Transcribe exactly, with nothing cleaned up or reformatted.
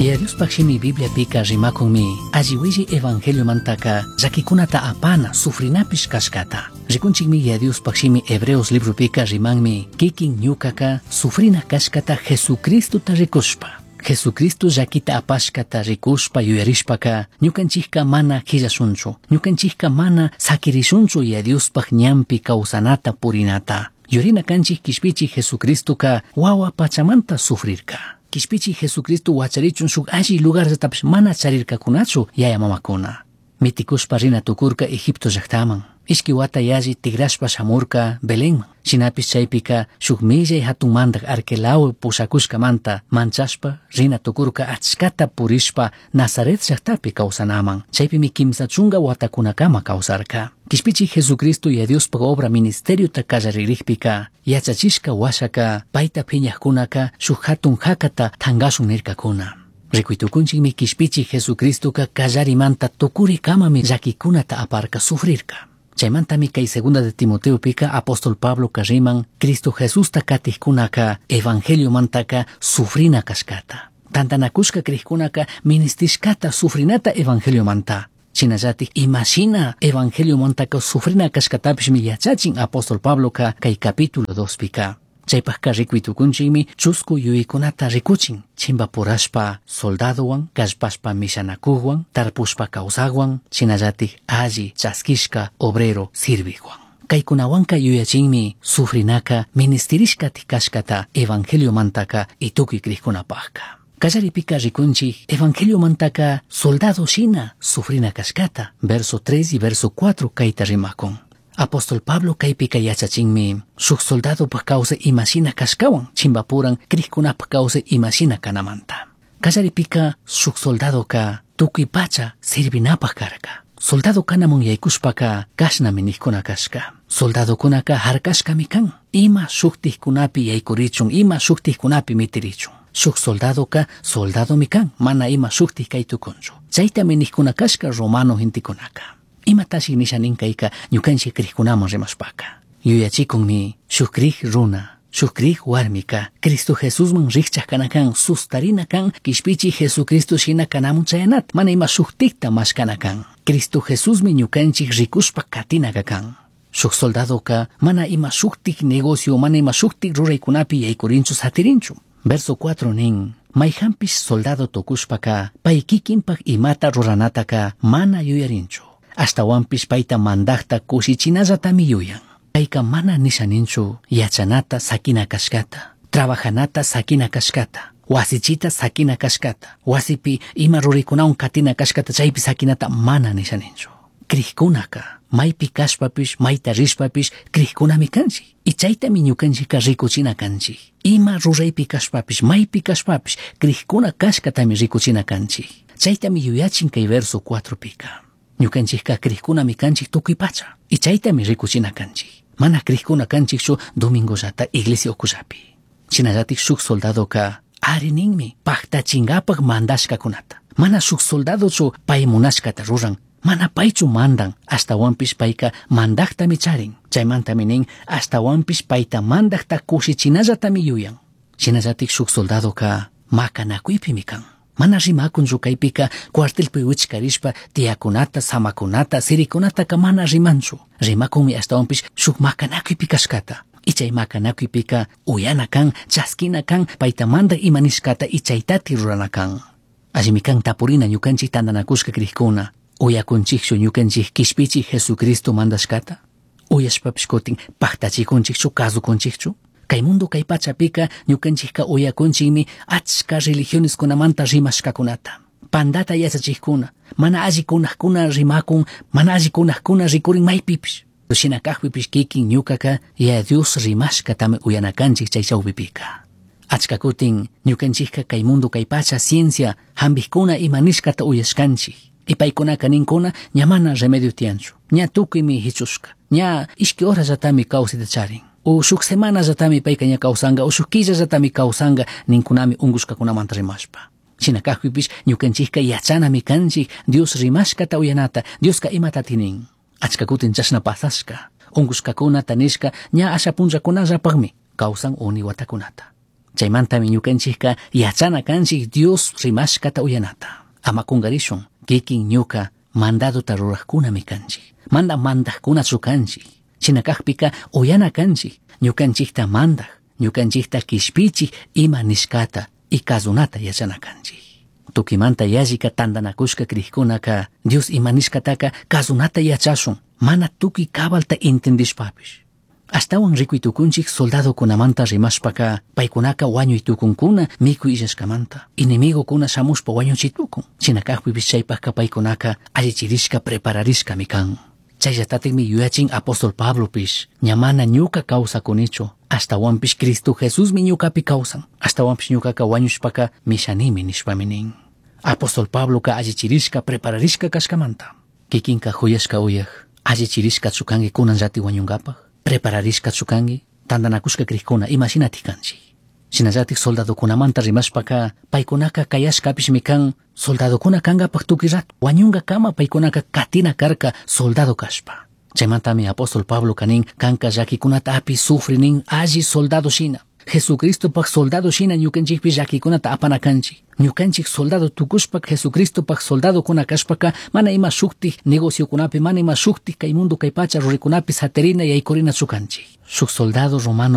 Yaya Diospaj shimi Bibliapika rimakunmi alli willi evangeliomantaka llakikunata apana sufrinapish kashkata. Rikunchikmi Yaya Diospaj shimi Hebreos libropika rimanmi kikin ñukaka sufrina kashkata Jesucristota rikushpa. Jesucristo llakita apashkata rikushpa yuyarishpaka ñukanchikka mana qillashunchu, ñukanchikka mana sakirishunchu Yaya Diospaj ñanpi kawsanata purinata. Yurina kanchik kishpichi Jesucristoka wawa pachamanta sufrirka. Kishpichi Jesucristo wacharichun shuk alli lugarllatapish mana charirkakunachu yaya mamakuna. Mitikushpa rina tukurka Egipto llaktaman. Ishki wata yalli tigrashpa shamurka Belenman. Shinapish chaypika shuk millay hatun mandak Arquelao pushakushkamanta manchashpa rina tukurka achkata purishpa Nazaret llaktapi kawsanaman. Chaypimi kimsa chunka watakunakama kawsarka. Kishpichi Jesucristo Yaya Diospaj obra ministeriota kallaririkpika yachachishka washaka payta phiñajkunaka shuk hatun hakata tankashun nirkakuna. Rikuytukunchikmi kishpichi Jesucristoka kallarimanta tukurikamami llakikunata aparka sufrirka. Chaymantami kay Segunda de Timoteopika apóstol Pablo riman Cristo Jesusta katijkunaka evangeliomantaka sufrina kashkata. Tantanakushka krikkunaka ministishkata sufrinata evangeliomanta. Shinallatik imashina evangeliomantaka sufrina kashkatapishmi yachachin apóstol Pabloka kay capítulo dospika. Chaypajka rikuytukunchikmi chusku yuyaykunata rikuchin chimpapurashpa soldadowan, kallpashpa mishanakuqwan, tarpushpa kawsaqwan, shinallatik alli chaskishka obrero sirviqwan. Kaykunawanka yuyachinmi sufrinaka ministirishkatik kashkata evangeliomantaka y tukuy krikkunapajka. Kallaripika rikunchik evangeliomantaka soldado shina sufrina kashkata, verso tres y verso cuatro kayta rimakun. Apóstol Pablo kaypika yachachinmi shuk soldadopaj kawsay imashina kashkawan chimbapuran krikkunapaj kawsay imashina kanamanta. Kallaripika shuk soldadoka tukuy pacha sirvinapaj karka. Soldado kanamun yaykushpaka kashnami nijkuna kashka. Soldadokunaka harkashkami kan. Ima shuktikkunapi yaykurichun, ima shuktikkunapi mitirichun. Shuk soldadoka soldadomi kan, mana ima shuktik kaytukunchu. Chaytami nijkuna kashka romano gentekunaka. Imatashi nisha nin kayka ñukanchik krikkunaman rimashpaka. Yuyachikunmi shuk krik runa, shuk krik warmika, Cristo Jesusman rikchak kana kan, sustarina kan, kishpichi Jesucristo shina kanamun chayanat, mana ima shuktikta mashkana kan. Cristo Jesusmi ñukanchik rikushpa katinaka kan. Shuk soldadoka mana ima shuktik negocio, mana ima shuktik ruraykunapi yaykurinchu satirinchu. Verso cuatro nin, mayhanpish soldado tukushpaka, pay kikinpak imata ruranataka mana yuyarinchu. Ashtawanpish payta mandakta kushichinallatami yuyan. Payka mana nishaninchu yachanata sakina kashkata, trabajanata sakina kashkata, wasichita sakina kashkata, wasipi ima ruraykunawan katina kashkata chaypi sakinata mana nishaninchu. Krikkunaka maypi kashpapish, mayta rishpapish krikkunami kanchik. Y chaytami ñukanchikka rikuchina kanchik. Ima ruraypi kashpapish, maypi kashpapish krikuna kashkatami rikuchina kanchik. Chaytami yuyachin kay verso cuatro pika. Ñukanchikka krikkunami kanchik tukuy pacha. Y chaytami rikuchina kanchik. Mana krikuna kanchikchu domingollata iglesia ukullapi. Shinallatik shuk soldadoka ari ninmi paktachinkapak mandashkakunata. Mana shuk soldadochu pay munashkata ruran, mana paychu mandan, ashtawanpish payka mandaktami charin. Chaymantami nin ashtawanpish payta mandakta kushichinallatami yuyan. Shinallatik shuk soldadoka makanakuypimi kan. Mana rimakunchu kaypika cuartelpi wichkarishpa tiyakunata, samakunata, sirikunataka mana rimanchu. Rimakunmi ashtawanpish shuk makanakuypi kashkata. Y chay makanakuypika uyana kan, chaskina kan, payta mandak ima nishkata y chaytati rurana kan. Allimi kan tapurina ñukanchik tantanakushka krikuna. Uyakunchikchu ñukanchik kishpichi Jesucristo mandashkata? Uyashpapish kutin paktachikunchikchu, kasukunchikchu? Kay mundo kay pachapika ñukanchikka uyakunchikmi achka religioneskunamanta rimashkakunata. Pandata yachachikkuna, mana allikunakuna rimakun, mana allikunakuna rikurin maypipish. Shina kajpipish kikin ñukaka Yaya Dios rimashkatami uyanakanchik chay chawpipika. Achka kutin ñukanchikka kay mundo kay pacha ciencia hampikkuna ima nishkata uyashkanchik. Y paykunaka ninkuna ña mana remedio tiyanchu, ña tukuymi hichushka, ña ishki horallatami kawsayta charin. O shuk semanallatami payka ña kawsanka, o shuk killallatami kawsanka ninkunami unkushkakunamanta rimashpa. Shina kajpipish ñukanchikka yachanami kanchik Dios rimashkata uyanata, Dioska imatati nin. Achka kutin chashna pasashka, unkushkakunata nishka ña asha punllakunallapakmi kawsan uni watakunata. Chaymantami ñukanchikka yachana kanchik Dios rimashkata uyanata. Ama kungarishun kikin ñuka mandadota rurajkunami kanchik. Mana mandajkunachu kanchik. Shina kakpika uyana kanchik ñukanchikta mandaj, ñukanchikta kishpichik ima nishkata y kazunata yachana kanchik. Tukimanta yallika tantanakushka crijkunaka Dios ima nishkataka kazunata yachashun, mana tukuy cabalta entendishpapish. Ashtawan rikuy tukunchik soldadokunamanta rimashpaka paykunaka wañuy tukunkuna mikuy illashkamanta. Enemigokuna shamushpa wañuchi tukun. Shina kakpipish chaypakka paykunaka allichirishka prepararishkami kan. Chayllatatikmi yuyachin apóstol Pablopish ña mana ñuka kawsakunichu ashtawanpish Cristo Jesusmi ñukapi kawsan ashtawanpish ñukaka wañushpaka mishanimi nishpami nin. Apóstol Pabloka allichirishka prepararishka kashkamanta. Kikinka huyashka uyaj allichirishkachu kanki kunanllati wañunkapaj prepararishkachu kanki tantanakushka crijkuna imashinatik kanchik. Shinallatik soldadokunamanta rimashpaka paykunaka kayashkapishmi kan soldadokuna kankapak tukuy rato wañunkakama paykunaka katina karka soldado kashpa. Chaymantami apóstol Pablo kanin kanka llakikunata api sufri nin alli soldado shina. Jesucristopak soldado shina ñukanchikpi llakikunata apana kanchik. Ñukanchik soldado tukushpa Jesucristopak soldadokuna kashpaka mana ima shuktik negociokunapi mana ima shuktik kay mundo kay pacha rurikunapi satirina yaykurinachu kanchik. Shuk soldado romano